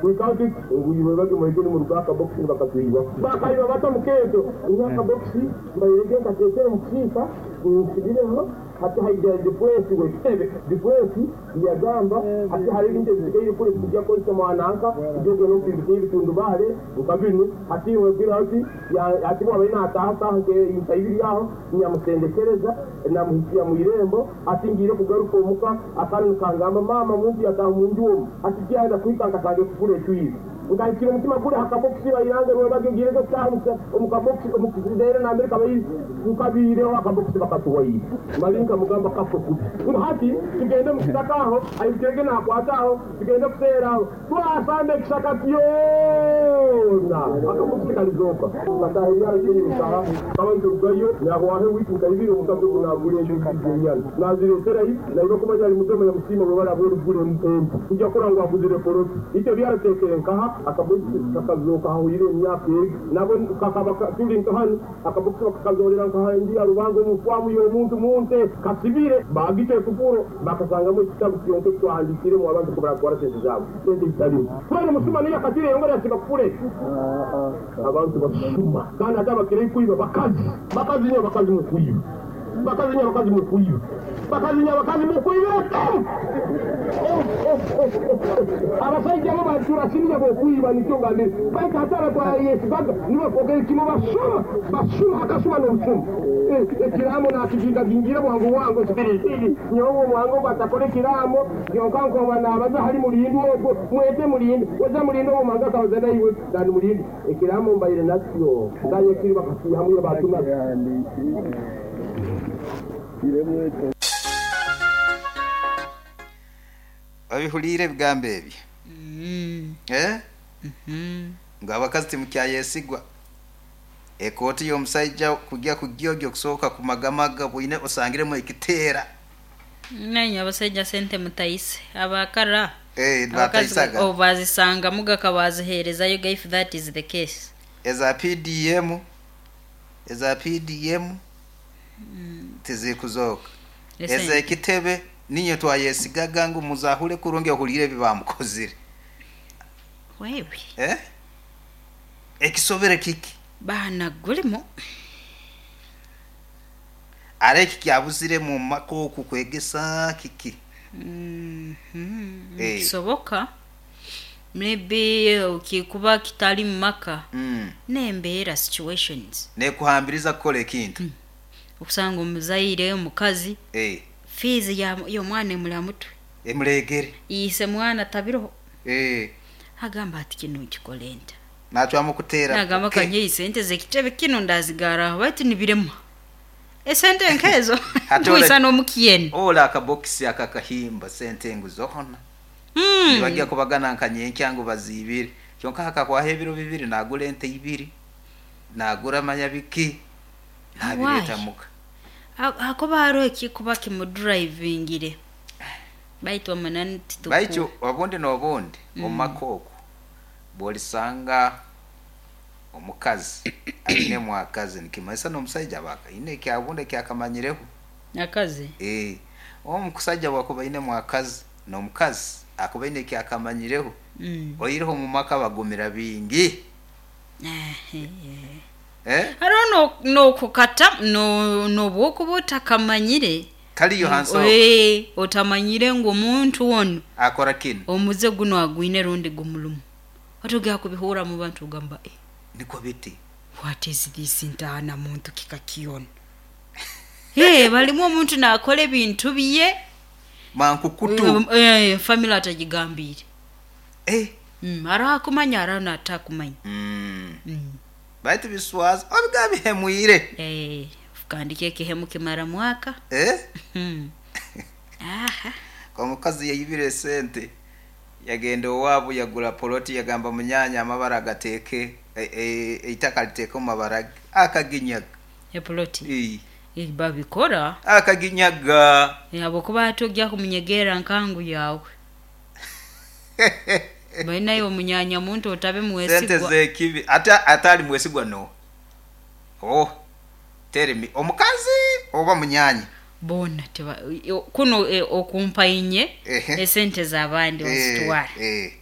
We count it ngu iwe bage mwege nimuruga aha kabokisi nibakatwiba. Bakaiba bata omu keeto? Nyowe akabokisi mbaire gye nkateekire omu kisiika nsibireho hati haija dipureesi w'ekitebe. Dipureesi yagamba hati hariho ebintu ebisigaire kuri ebikugya kukozesa mwananka kugya ogende opimbise ebitundubaare nka binu hati iwe gwire hati hati bwabaire nataaha saaha nka ibiri aho nyamusendekereza namuhitsya mu irembo hati ngiire kugaruka omuka Akaana nikangamba, Maama, omuntu yataaha omu nju omu. Hati tiyaheza kuhika nkashanga ekufuru ecwire. Nkahikira omutima guri aha kabokisi bairanga rwebagyo ngiirege kutaaha omu kabokisi omu reero nambere kaba nkabiireho akabokisi bakatuwaire. Mali nkamugamba kafwe kubi ngu hati tugende omu kisaka aho airukirege nakwata aho tugende kuseera aho. Twasamba ekishaka kyona akabokisi kalizooka. Tukataaha ebyaro ky'enyurukaha tukaba niturugayo nahwaho ewiiki nka ibiri omukazi ogu nagura ente ibiri z'enyana nazireeterayo naiwe kumanya ari muzema yamusiima webare ahabw'origura ente kugya kurora ngu aguzire poloti. Itwe ebyaro nkaha akabokisi kakazooka hahwaire emyaka egi nabwo kakaba turi nka hanu. Akabokisi bakakazoorera nka aha nju ya Rubanga omu faamu y'omuntu mu nte kasibire. Baagita ekufuro, bakasangamu ekitabu kyonka eki twahandiikiiremu abantu ku baratwara sente zaabo. Sente zitarimu. Twena omusuma niyo yakatire yongera yasiba kufuro egyo. Abantu basuma kandi hati abakirayo kwiba bakazi. Bakazi nyowe bakazi mukwiba. Bakazi nyowe bakazi mukwiba. Bakazi nyowe bakazi mukwibira kimu. Abasaija bo baturasimiya b'okwiba nikyo ngambire. Baitu hati abatwayesigaga nibo twogere kimu basuma, basuma akasuma n'obusuma. Ekiraamo nakigingagingira bwangu bwangu sipiriti. Nyowe omwango ogu atakora ekiraamo kyonka nkoba nabaza hali mulindi ogwo mwete mulindi weza mulindi owo mwango akabaza naiwe than mulindi ekiraamo mbaire nakyo nkaye kiri bakakiihamu iyo batunaga. Obihuliire ebigambo ebyo? Eh? Ngu abakazi timukyayesigwa. Ekooti y'omusaija kugya kugyogya okusooka kumagamaga bwine osangiremu ekiteera. Nainywe abasaija sente mutaise. Abakara Eh, abakazi bataisaga. obu bazisangamuga kabaziheerezayoga if that is the case. Eza PDM, eza PDM tizikuzooka. Esente. Ez'ekitebe niinywe twayesigaga ngu muzahure kurungi ohuliire ebi baamukozire. Wewe. Eh? Ekisobere kiki? Baana gulimu. Ara eki kyabuzire mu maka oku kwegesa kiki? Mhm. Eh. Nikisoboka maybe kikuba kitali mu maka n'embeera, situations. Nekuhambiriza kukora ekintu. Okusanga omuzaire omukazi Eh. fees y'omwana emuri aha mutwe. Emuregere. Ise mwana tabiroho. Eh. Agamba ati kinu nkikole nta? Nacwamu kuteera Nagamba poke. kanyei sente z'ekitebe kinu ndazigara aho baitu nibirema. Esente nk'ezo Hati ole nkwisa n'omukyeni. ole akabokisi akakahimba sente ngu zoona nibagya kubagana nka nyenkya ngu baziibire kyonka hakahwaho ebiro bibiri nagura ente ibiri nagura manya biki nabireeta Why? muka. Hakuba hariho ekikuba kimudurayivingire. Baitu amananu tituku. Baitu obundi n'obundi omu maka oku bw'olisanga omukazi ainemu akazi nikimanyisa n'omusaija aba aine ekyabundi eki akamanyireho. Akazi? Ee, omusaija obu akuba ainemu akazi n'omukazi akuba aine eki akamanyireho, oihireho omu maka bagumira baingi. Eh? Hariho n'okukata n'obu okuba otakamanyire. Kaliyo hansi aho. Ee, otamanyire ngu omuntu onu Akora kinu. omuze gunu agwine rundi gumulumu. Otogera kubihurra mu bantu ogamba eh. Nikwo biti. What is this ntaana muntu kika ki onu? Ee, balimu omuntu naakora ebintu bye. Mankukutu. Ee, family atagigambiire. Eh. Hariho akumanya hariho n'atakumanya. Baitu biswaza obiga bihemwire. Ee, kandi kyo ekihemu kimara mwaka. Eh? Aha. Omukazi yaibire esente yagenda owaabu yagura poloti yagamba munyaanya amabara agateeke eitaka aliteeke omu mabara ge akaginyaga. Epoloti? Ii. Ii, babikora. Akaginyaga. Ahabw'okuba hati ogya kumunyegerera nkangu yaawe. Mbwenu naiwe omunyaanya muntu otabe Sente mwesigwa. z'ekibi ate atali mwesigwa n'oha? Oh, tell me, omukazi oba munyaanya? Boona tiba, kunu okumpa inye Ehe. esente z'abandi Eh, ozitwara. eh.